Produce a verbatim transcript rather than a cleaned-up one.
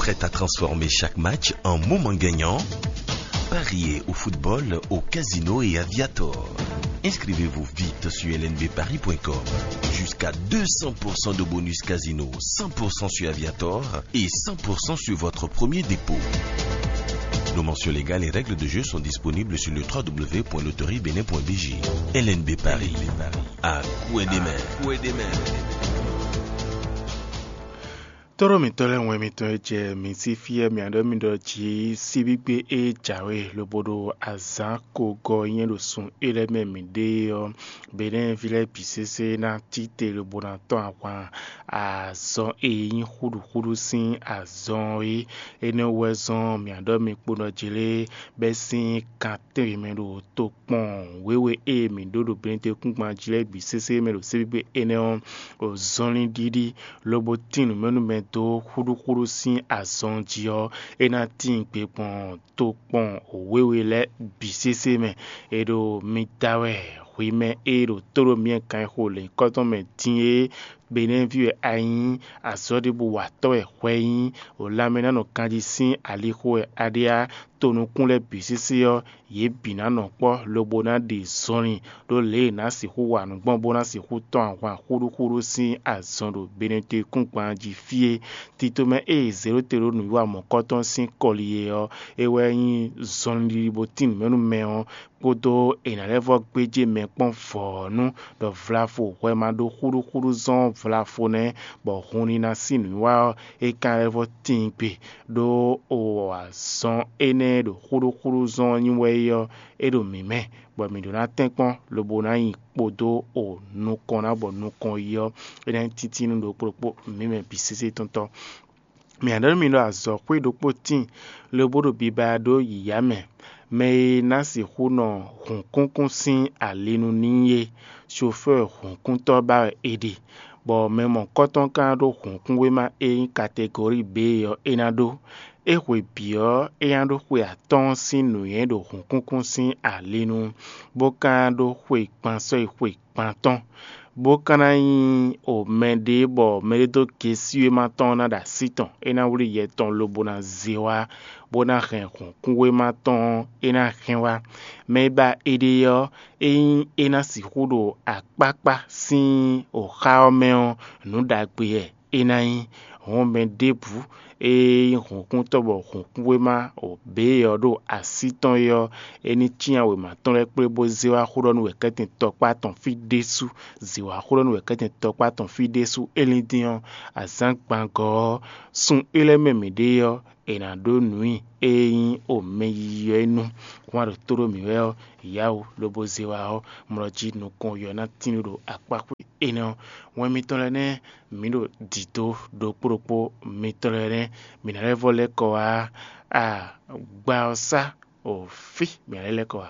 Prêt à transformer chaque match en moment gagnant ? Pariez au football, au casino et à Viator. Inscrivez-vous vite sur L N B paris point com. Jusqu'à deux cents pour cent de bonus casino, cent pour cent sur Aviator et cent pour cent sur votre premier dépôt. Nos mentions légales et règles de jeu sont disponibles sur le trois w point loterie bénin point b j. L N B Paris, à coin des mains. Tɔ́ɖɔ mǐtɔn lɛ́ɛ, wɛn mitɔn e jɛ mǐ sí fí ɛ mǐ ɖɔ mì ɖɔ jǐ síbígbe e jǎwe lobo ɖo azǎn kogɔ nyɛ ɖo sun é lɛ́ɛ mɛ mǐ ɖe ɔ́, Benɛ́ɛví lɛ́ɛ bǐ sésé ná tite lobo ná tɔ́n ahwan azɔn e nyí xúɖuxúɖu sín azɔn é. Énɛ́ wɛ zɔ́n mǐ ɖɔ mi kpo nɔ jlé bɛ́ sín kan tɛ́nwe mɛ ɖo tokpɔn wěwe e mǐ ɖó ɖo Benɛ́ɛví kúngban jí lɛ́ɛ bǐ sésé mɛ ɖo síbígbe énɛ́ ɔ́, zɔnlin ɖiɖi lobo tín nǔmɛnúmɛ dó xúɖúxúɖú sín azɔn jí ɔ́, é ná tíin gbe gbɔn tokpɔn wěwe lɛ́ɛ bǐ sésé mɛ. È ɖo mi da wɛ hwi mɛ e ɖo tó ɖo myɛ kan e xo lěnyíkɔ́tɔn mɛ din é, Benɛ́ví wɛ a nyí, azɔ̌ ɖěbǔ watɔ́ wɛ hwɛ nyí, o lanmɛ ná nɔ ganjí sín alixo wɛ a ɖe á, to nukún lɛ́ɛ bǐ sésé ɔ́, yě bǐ ná nɔ kpɔ́ lobo ná ɖe zɔnlin ɖó lě e è nǎ sixú wa nǔ gbɔn bó ná sixú tɔ́n ahwan xúɖúxúɖú sín azɔn ɖo Benɛ́tɔ́ kúngban jí fí é. Tito mɛ e zěɖótelónu yí wa mɔ̌kɔ́tɔn sín kɔli é ɔ́, é wɛ nyí zɔnlin ɖiɖi bó tín nǔmɛnú mɛ ɔ́, kpódó è nǎ lɛ́ vɔ́ gbéjé mɛ kpɔ́n vɔ̌nu ɖɔ vlavo hwɛ ma ɖó xúɖúxúɖú zɔ́n vlavo nɛ́, bɔ hun ní ná sín nǔwiwa ɔ́, é ka lɛ́ vɔ́ tíin gbe, ɖó o azɔn énɛ́ e ɖo xúɖúxúɖú zɔ́n ɔ́ nyi wɛ é ɔ́, é ɖo mǐ mɛ, bɔ mǐ ɖó ná tɛ́nkpɔ́n lobo ná nyi kpódó o nukɔn ná bɔ nukɔn yi ɔ́, é ná nyí títínú ɖokpó ɖokpó mǐ mɛ bǐ sésé tɔn tɔ́. Mǐ ná ɖɔ nú mi ɖɔ azɔ̌xwé ɖokpó tíin lobo ɖo biba ɖó yǐyá mɛ, mɛ e ná sixú nɔ hǔnkúnkún sín ali nu n'i é, sofɛ́ɛ hǔnkúntɔ́ ba wɛ è ɖe, bɔ mɛ mɔ̌kɔtɔn ka ɖó hǔnkúnwéma e nyí kategori B ɔ́, é ná ɖó. É hwe bǐ ɔ́, é ná ɖó xwe atɔ́ɔ́n sín nǔnywɛ́ ɖo hǔnkúnkún sín ali nu, bó ka ɖó xwe gban sɔ́yi xwe gban tɔn, bó ka ná nyí o mɛɖé bɔ mɛɖé dó gesíwéma tɔn ná ɖo así tɔn, é ná wlí yɛ tɔn lobo ná zé wá, bó ná hɛn hǔnkúnwéma tɔn é ná hɛn wá. Mɛ e ba éɖée ɔ́, ényí é ná sixú ɖo akpákpá sín o xá ɔ́ mɛ ɔ́, nǔ ɖagbe wɛ é ná nyí. Hɔn mɛ ɖěbǔ e nyí hǔnkúntɔ́ bɔ hǔnkúnwéma o bě ɔ́ ɖo así tɔn é ɔ́, é ní cyán wěma tɔn lɛ́ɛ kplé bó zé wá xó ɖɔ nú wɛ̌kɛ́tɛn tɔkpá tɔn fí ɖésú, zě wá xó ɖɔ nú wɛ̌kɛ́tɛn tɔkpá tɔn fí ɖésú. É lín dín ɔ́, azǎn gbangɔ ɔ́, sun é lɛ́ɛ mɛ mǐ ɖe ɔ́, è nǎ ɖó nǔ nyi ée nyí o mɛ yiyi ɔ́ é nu. Wán ɖo tó ɖó mǐ wɛ ɔ́, yǎwo lobo zé wá ɔ́, mlɔ jí nukɔn yɔ ná tín ɖo akpáxwé énɛ́ ɔ́. Wɛn mitɔn lɛ́ɛ nɛ́ mǐ ɖo dǐdó ɖokpó ɖokpó mitɔn lɛ́ɛ nɛ́ mǐ ná lɛ́ vɔ lɛ́ kɔ wá a gbá ɔ́ sá o fí mǐ ná lɛ́ lɛ́ kɔ wá.